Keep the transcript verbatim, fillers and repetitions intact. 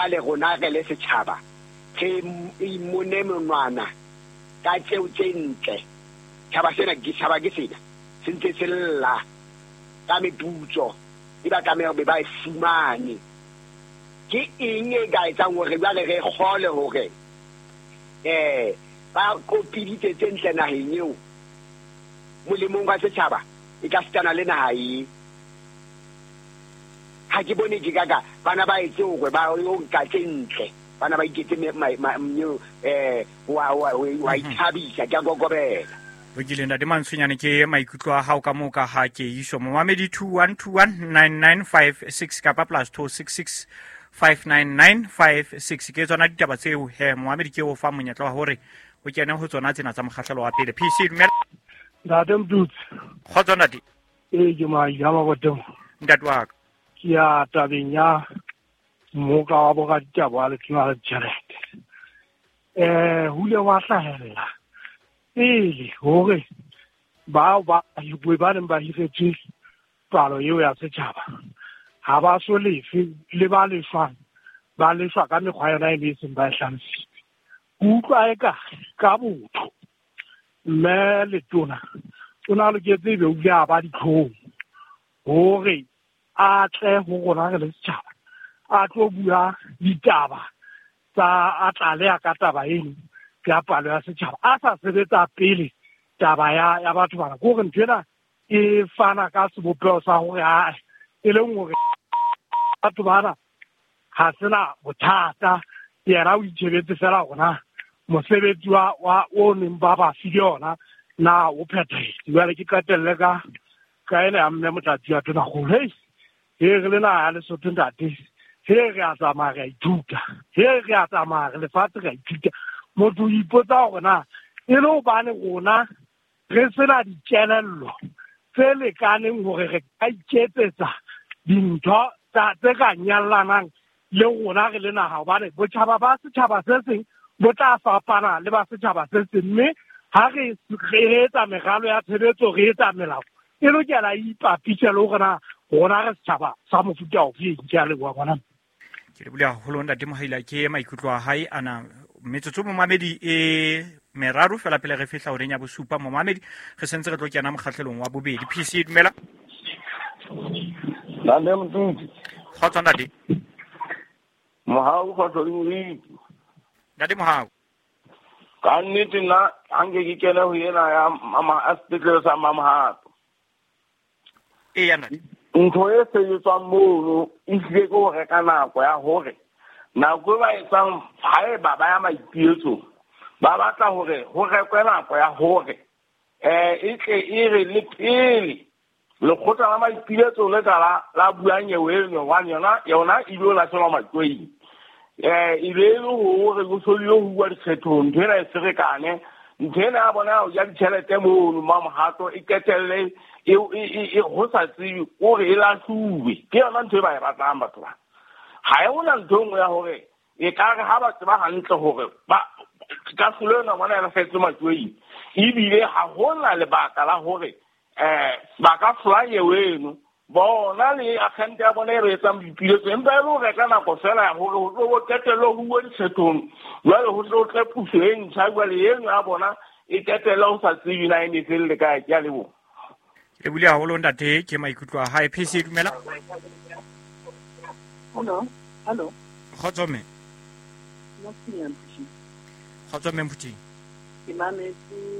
Jwale rona re le setjhaba re imone monwana ka tseo tse ntle. Tjhaba sena ke tjhaba ke sena se ntse se lla ka meputso e ba tlameha be ba e fumane. Ke eng e ka etsang hore jwale re kgole hore eh ba kopiditse tse ntle naheng eo molemong wa setjhaba e ka sitana le naha e? Ha ke bone ke kaka bana ba etse hore ba yo nka tse ntle, bana ba iketse eh wa wa wa ithabisa ke a kokobela. Lokile ntate Mantsonyane, ke maikutlo a hao ka moo ka ha ke iso momamedi two one two one nine nine five six kapa plus two six six five nine nine five six. Ke tsona ditaba tseo he momamedi ke o fa monyetla wa hore o kene ho tsona tsena tsa mokgahlelo wa pele. P C dumela. Ntate Mdutsi. Kgotso ntate. Ee, ke Maija Maboteng. Ntate wa ka. Ke ya tabeng ya mmoka wa boraditaba wa Letona la Ditjhelete. Eh, ho ile wa hlahella pele hore bao ba ba neng ba hiretswe palo eo ya setjhaba ha ba so lefe, le ba lefang ba lefwa ka mekgwa yona e le seng ba e hlalositse. Ke utlwa eka ka botho mme Letona o na loketse ebe o ile a ba ditlhong hore a tle ho rona re le setjhaba a tlo bua ditaba tsa a tlaleha ka taba eno ya palo ya setjhaba a sa sebetsa pele taba ya ya batho bana. Ke hore ntho ena e fana ka sebopeho sa hore a e leng hore batho bana ha sena bothata, yena o itjhebetse fela rona mosebetsi wa wa o neng ba ba file yona na o phethahetse. Jwale ke qetelle ka ka ena ya mme Motlatsi wa Tonakgolo. Hei, he re le naha ya Lesotho ntate, he re a tsamaya re a ithuta, he re a tsamaya re lefatshe re a ithuta. Motho o ipotsa hore na e le hobane rona re sena dikelello tse lekaneng hore re ka iketsetsa dintho tse ka nyallanang le rona re le naha, hobane botjhaba ba setjhaba se seng bo tla fapana le ba setjhaba se seng, mme ha re re etsa meralo ya tshebetso, re etsa melao e lokela e ipapise le hore na rona re setjhaba sa mofuta ofe. Ke a leboha ngwana. Ke lebohile haholo ntate Mohaila, ke maikutlo a hae ana. Metsotso momamedi e meraro fela pele re fihla horeng ya bosupa momamedi, re sentse re tlo kena mokgahlelong wa bobedi. P C dumela. Ntate Motutsi. Kgotso ntate. Mohau kgotso le moriti. Ntate Mohau. Ka nnete nna ha nke ke kene ho ena ya mama a sepetlele sa Mamohato. Eya ntate. Ntho e sebetswang mono e hlile ke ho reka nako ya hore nako e ba etsang haeba ba ya maipiletsong ba batla hore ho rekwe nako ya hore eh e tle e re le pele lekgotla la maipiletso le ka la la bua nyewe eno hobane yona yona e ile lahlelwa matjoing. Eh e be le hore go solile ho bua dikgethong, ntho ena e ferekane, ntho ena ya bona ya ditjhelete mono Mamohato e qetelle e e ho sa tsebe hore e lahluwe. Ke yona ntho e ba e batlang batho ba. Ha e hona ntho e nngwe ya hore e ka re ha ba tseba hantle hore ba kahlolo ena bona e lahletswe matjoing, ebile ha hona lebaka la hore eh ba ka hlola nyewe eno bona le agente ya bona e re etsang boipiletso, empa e le ho reka nako fela ya hore ho tlo qetelle ho bua dikgethong, jwale ho tlo tle puso e ntjha, jwale eno ya bona e qetelle ho sa tsebe na e ne felle kae. Ke a leboha. Ke lebohile haholo ntate, ke maikutlo a hae. P C dumela. Hello, hello. Kgotso mme. Kgotso mme Mputing. Ke mametse